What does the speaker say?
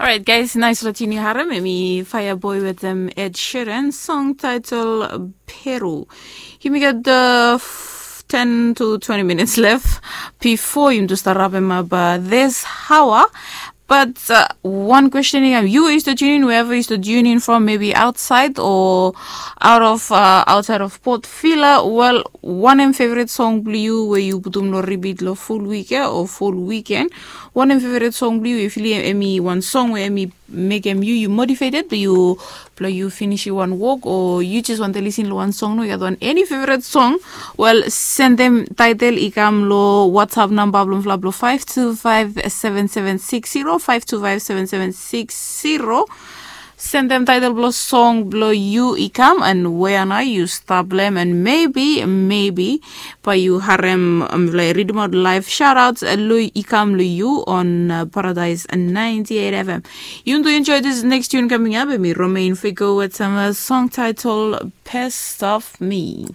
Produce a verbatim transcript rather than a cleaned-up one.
Orait guys, nais long tuni harem em i Fireboy wetem Ed Sheeran, song title Peru. Yumi gat ten to twenty minutes left before yumi tu start wrap em up this hour. But uh, one question i kam, you used to tune in wherever you used to tune in from, maybe outside or out of uh, outside of Port Vila. Well, wanem favorite song blong yu we yu putum lo repeat lo full week ya o full weekend? Wanem favorite song blong yu? Yu fili em i wan song we em i mekem yu yu motivated blong yu blong yu finisim wan wok o yu jes wantem lisin long wan song no, yu gat wan eni favorite song? Wel, sendem title i kam long WhatsApp namba blong fla blong five two five seven seven six zero, five two five seven seven six zero. Sendem title blong song blong yu i kam and wea nao yu stap long em, and maybe maybe bae yu harem, um, like, ridimaot live shoutouts long i kam long yu on uh, Paradise ninety eight F M. Yu tu enjoy this next tune coming up. Em i Romain Figo with some uh, song title Best of Me.